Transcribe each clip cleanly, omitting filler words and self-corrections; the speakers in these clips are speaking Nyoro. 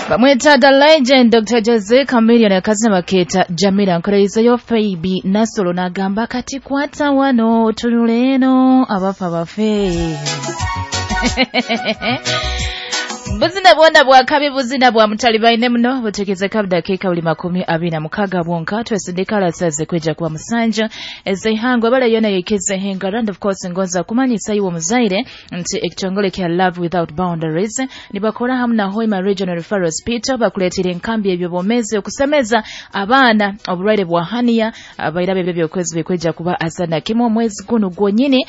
Bamwita the legend Dr. Jose Chameleone, akazina bakeeta Jamila. Nkolerezeyo Faibi Nasolo n'agamba kati kwata wano tunula eno abafa bafe. Buzina bwona bwakabi, buzina bwa mutalibaine muno butekezeka budakiika buli 26 bwonka twesindika alasaze kweja kuba musanja ezeihangwe bale yona yekeze hengara. And of course ngonza kumanyisa iwe omuzaire nti ekitongole kya Love Without Boundaries nibakora hamu na Hoima Regional Referral Hospital bakuleetera enkambi ebyobomezi okusemeza abaana oburwaire bwa hania abairaba ebyo byokwezi bikweja kuba asana kimwe omwezi guno gwonyini,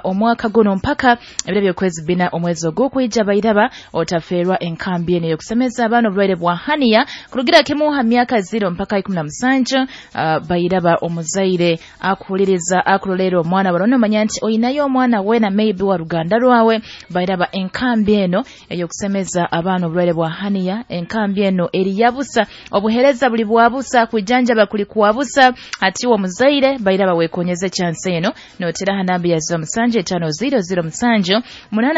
omwaka guno mpaka ebyo byokwezi 4 omwezi ogw'okwija. Bairaba otaferwa enkambi eno yokusemeza abaana obulwaire bwa hania kurugira kimuha myaka 0 mpaka 17. Bairaba omuzaire akuhuliriza akurolera omwana barona omanya nti oyinayo omwana wena maybe wa ruganda rwawe. Bairaba enkambi eno eyokusemeza abaana obulwaire bwa hania, enkambi eno eri yabusa, obuhereza buli bwabusa, kwijanjaba kuli kwabusa. Ati omuzaire bairaba wekonyeze chance eno notera hanambi ya 07 5 0 0 7 8 9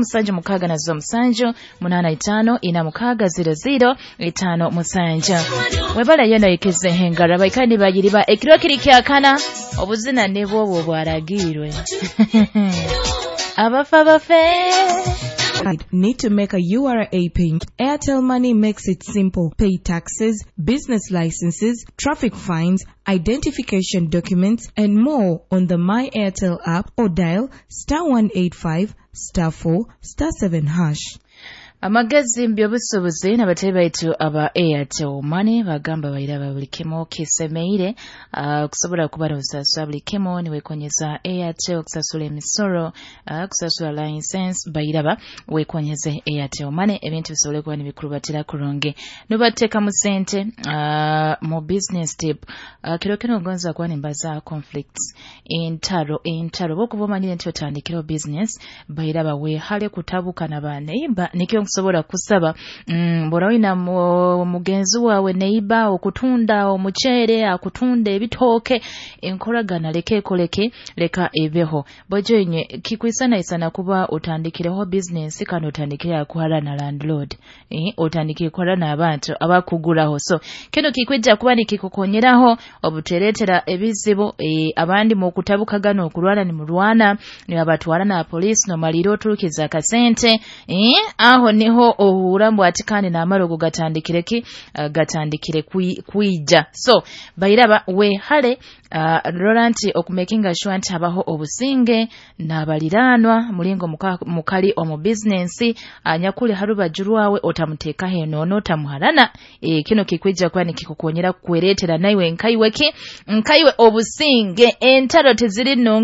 7 6 na 07 8 5 4 6 0 0 5 7. Webala yeno yekeze hengara baikani bayiriba ekiro kiri kyakana obuzina nibwo bwaragirwe abafa bafe. Need to make a URA payment? Airtel Money makes it simple. Pay taxes, business licenses, traffic fines, identification documents, and more on the My Airtel app or dial *185 *4 *7#. Amagezi mbyobusubuzi n'abatali baitu aba Airtel Money bagamba bairaba buli kimu kisemeire, kusobola kuba n'osasula buli kimu niwekonyeza Airtel, kusasula emisoro, kusasula license. Bairaba wekonyeze Airtel Money ebintu bisobole kuba nibikurubatira kurungi nubateekamu sente mu business tip. Kiro kino ngonza kuba nimbaza conflicts, entaro bwokuba omanyire nti otandikiraho business, bairaba weehale kutabuka na baneiba. Nikyo nkusobola kusaba, bw'oba oyina mugenzi waawe neiba okutunda omuceere, akutunda ebitooke, enkoragana leka ekoleke, leka ebeho. Bojo inywe kikwisanaisana kuba otandikireho business kandi otandikire akuhara na landlord, otandikire kuhara n'abantu abakuguraho. So kino kikwijja kuba nikikukonyeraho obutereetera ebizibu, abandi mukutabukagana okurwana nimurwana nibabatwara na polisi nomalira oturukiza akasente, aho niho ohura mbu ati kandi n'amarogo gatandikire ki, gatandikire kwija. So bairaba wehale, rora nti okumakinga sure nti habaho obusinge n'abaliraanwa mulingo mukali omu bizinensi. Anyakuli harubaju rwawe otamuteekaho enono, otamuharana. Kino kikwijja kuba nikikukonyera kwereetera naiwe nkaiwe ki nkaiwe obusinge. Entaro teziri nungi.